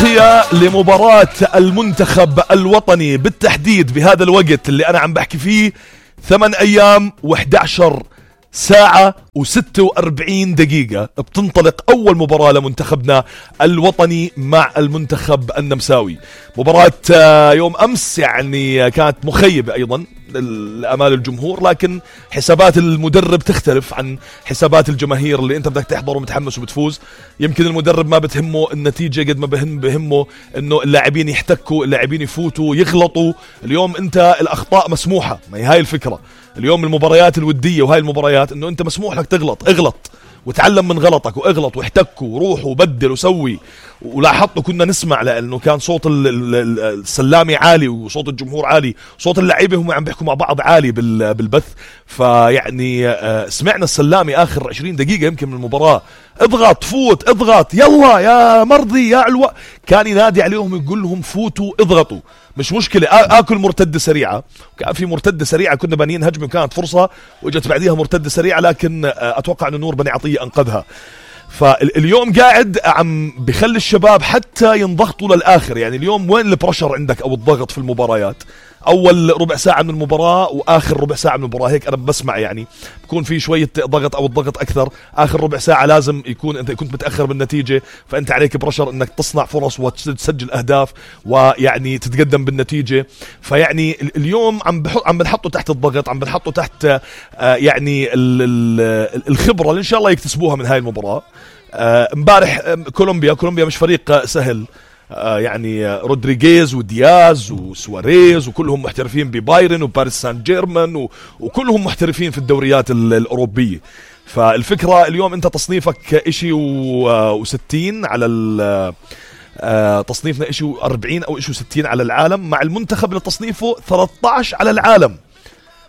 تغطية لمباراة المنتخب الوطني بالتحديد بهذا الوقت اللي أنا عم بحكي فيه 8 أيام و11 ساعة و46 دقيقة بتنطلق أول مباراة لمنتخبنا الوطني مع المنتخب النمساوي. مباراة يوم أمس يعني كانت مخيبة أيضا لأمال الجمهور، لكن حسابات المدرب تختلف عن حسابات الجماهير اللي أنت بدك تحضر ومتحمس وبتفوز. يمكن المدرب ما بتهمه النتيجة قد ما بهمه إنه اللاعبين يحتكوا، اللاعبين يفوتوا يغلطوا. اليوم أنت الأخطاء مسموحة، ما هي هاي الفكرة. اليوم المباريات الودية وهاي المباريات إنه أنت مسموح لك تغلط، اغلط وتعلم من غلطك واغلط واحتك وروح وبدل وسوي. ولاحظتوا كنا نسمع لأنه كان صوت السلامي عالي وصوت الجمهور عالي، صوت اللعيبة هم عم بيحكوا مع بعض عالي بالبث. فيعني سمعنا السلامي آخر 20 دقيقة يمكن من المباراة، اضغط فوت اضغط يلا يا مرضي يا علوة، كان ينادي عليهم يقول لهم فوتوا اضغطوا مش مشكلة. آكل مرتدة سريعة، كان في مرتدة سريعة كنا بانيين هجمة وكانت فرصة وجت بعديها مرتدة سريعة، لكن أتوقع أن نور بني عطية أنقذها. فاليوم قاعد عم بخلي الشباب حتى ينضغطوا للآخر. يعني اليوم وين البرشر عندك أو الضغط في المباريات؟ أول ربع ساعة من المباراة وآخر ربع ساعة من المباراة هيك أنا بسمع يعني بكون في شوية ضغط أو الضغط أكثر. آخر ربع ساعة لازم يكون أنت كنت متأخر بالنتيجة، فأنت عليك برشر أنك تصنع فرص وتسجل أهداف ويعني تتقدم بالنتيجة. فيعني اليوم عم بنحطه تحت الضغط، عم بنحطه تحت يعني الخبرة اللي إن شاء الله يكتسبوها من هاي المباراة. امبارح كولومبيا مش فريق سهل، يعني رودريغيز ودياز وسواريز وكلهم محترفين ببايرن وباريس سان جيرمان وكلهم محترفين في الدوريات الأوروبية. فالفكرة اليوم أنت تصنيفك إشي و60 على تصنيفنا إشي 40 أو إشي 60 على العالم، مع المنتخب اللي تصنيفه 13 على العالم.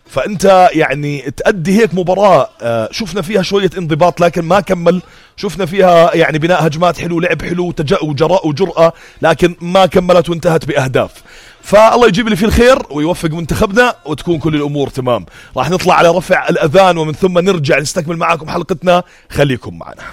فأنت يعني تأدي هيك مباراة شفنا فيها شوية انضباط لكن ما كمل، شفنا فيها يعني بناء هجمات حلو، لعب حلو، وجراء وجرأة، لكن ما كملت وانتهت بأهداف. فالله يجيب لي فيه الخير ويوفق منتخبنا وتكون كل الأمور تمام. راح نطلع على رفع الأذان ومن ثم نرجع نستكمل معاكم حلقتنا، خليكم معنا.